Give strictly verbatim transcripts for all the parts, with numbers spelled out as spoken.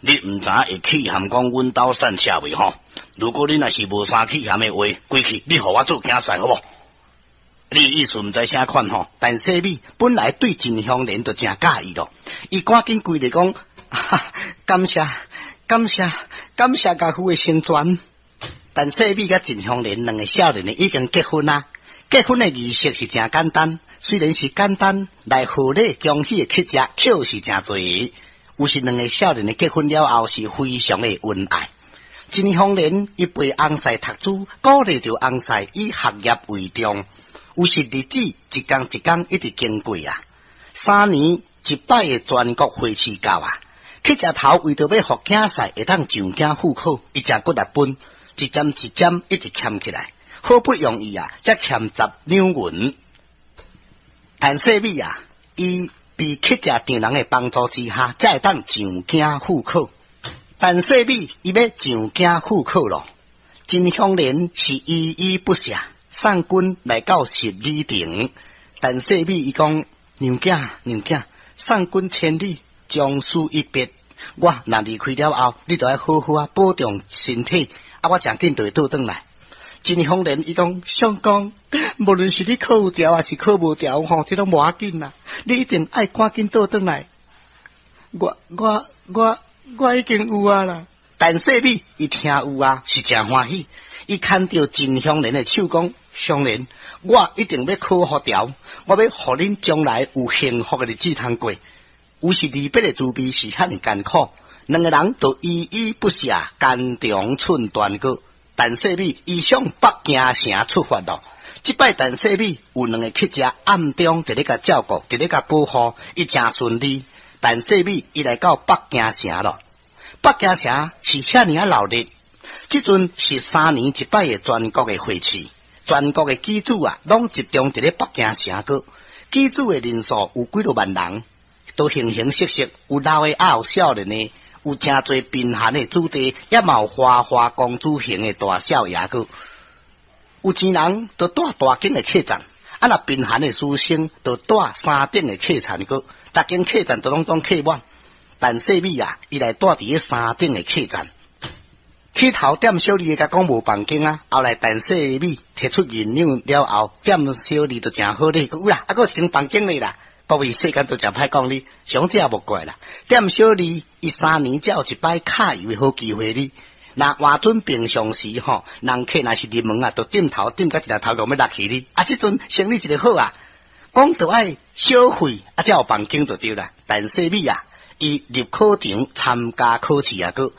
你毋知會氣餡講阮兜散車未吼？如果你若是無啥氣餡的話，歸去你予我做囝婿好無？你意思毋知啥款吼？陳世美本來對秦香蓮就誠佮意咯，伊趕緊跪咧講，感謝感謝感謝家父的成全。陳世美佮秦香蓮兩个少年的已經結婚啊，結婚的儀式是誠簡單，雖然是簡單，來賀禮恭喜的乞食卻是誠濟。有時兩个少年的結婚了後是非常的恩愛。秦香蓮伊陪翁婿讀書，鼓勵著翁婿以學業為重。有時日子一工一工一直經過啊，三年一擺的全國會試到啊，乞食頭為著欲予囝婿會當上京赴考，伊誠骨力分，一針一針一直儉起來，好不容易啊，才儉十兩銀。陳世美啊，伊佇乞食丈人的幫助之下，才會當上京赴考。陳世美伊欲上京赴考咯，秦香蓮是依依不捨。送君來到十里亭，陳世美伊講娘囝娘囝，送君千里，將死一別。我若離開了後，你著愛好好啊保重身體，啊，我誠緊就會倒轉來。秦香蓮伊講相公，無論是你考有著抑是考無著吼，這攏無要緊啦，你一定愛趕緊倒轉來。我我我我已經有啊啦。陳世美伊聽有啊，是誠歡喜。伊牽著秦香蓮的手講：香蓮，我一定欲考予著，我欲予恁將來有幸福的日子通過。有時離別的滋味是遐爾艱苦，兩个人都依依不捨，肝腸寸斷過。陳世美伊向北京城出發咯。這擺陳世美有兩个乞食暗中佇咧共照顧，佇咧共保護，伊誠順利。陳世美伊來到北京城咯。北京城是遐爾仔鬧熱。這陣是三年一擺的全國的會試，全國的舉子啊，攏集中佇咧北京城閣。舉子的人數有幾若萬人，都形形色色，有老的，也有少年的，有誠濟貧寒的子弟，也嘛有花花公子型的大少爺閣。有錢人就蹛大間的客棧，啊若貧寒的書生就蹛三等的客棧閣，逐間客棧都攏總客滿。陳世美啊，伊來蹛佇咧三等的客棧。起頭店小二共講無房間啊，後來陳世美提出銀兩了後，店小二就誠好禮，講有啦，啊閣有一間房間咧啦。各位世間都誠歹講你，想這莫怪啦。店小二伊三年才有一擺敲油的好機會哩。若換準平常時吼，人客若是入門啊，就點頭點甲一粒頭殼欲落去哩。啊，這陣生意一个好啊，講著愛小費啊，才有房間就對啦。陳世美啊，伊入考場參加考試啊，閣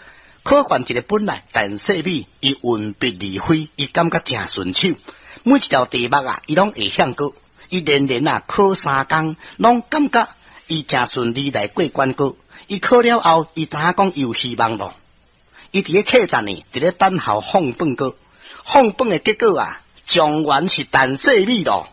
考卷一个本來，陳世美伊運筆如飛，伊感覺誠順手。每一條題目啊，伊攏會曉過。伊連連啊考三工，攏感覺伊誠順利來過關過。伊考了後，伊知影講有希望咯。伊佇咧客棧呢，佇咧等候放榜過。放榜的結果啊，狀元是陳世美咯。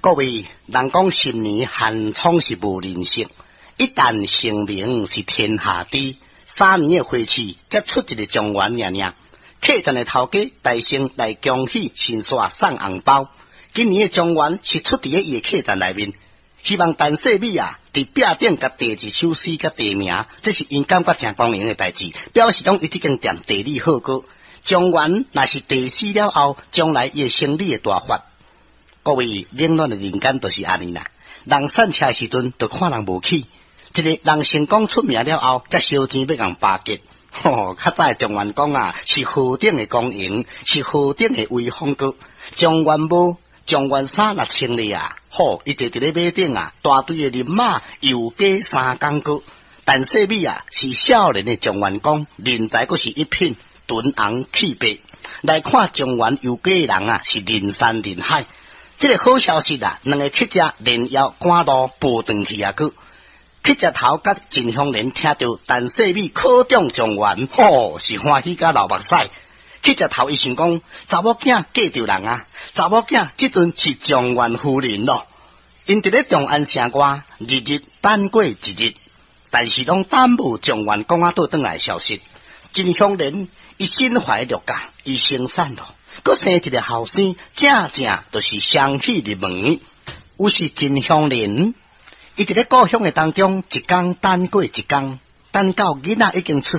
各位人講十年寒窗是無人識，一旦成名是天下知。三年的會試，才出一个狀元爾爾。客棧的頭家大聲來恭喜，先煞送紅包。今年的狀元是出佇咧伊的客棧內面，希望陳世美啊，佇壁頂共題一首詩佮題名，這是𪜶感覺誠光榮的代誌，表示講伊這間店地理好過。狀元若是題死了後，將來伊的生理會大發。各位冷暖的人間就是按呢啦，人散車的時陣，就看人無起。一个人成功出名了後，才燒錢欲共巴結。吼，較早的狀元公啊，是何等的光榮，是何等的威風閣。狀元帽、狀元衫若穿咧啊，吼，伊坐佇咧馬頂啊，大隊的人馬遊街三工閣。陳世美啊，是少年的狀元公，人才閣是一品，唇紅齒白。來看狀元遊街的人啊，是人山人海。這个好消息啊，兩個乞食連夜趕路報轉去啊，閣。乞食頭佮秦香蓮聽著陳世美考中狀元，吼，是歡喜甲流目屎。乞食頭伊想講，查某囝嫁著人啊，查某囝這陣是狀元夫人咯。𪜶佇咧長安城外，日日等過一日，但是攏等無狀元公仔倒轉來的消息。秦香蓮伊身懷六甲，伊生產咯，閣生一个後生，正正就是雙喜入門。有時秦香蓮。伊佇咧故鄉的當中，一工等過一工，等到囡仔已經出世。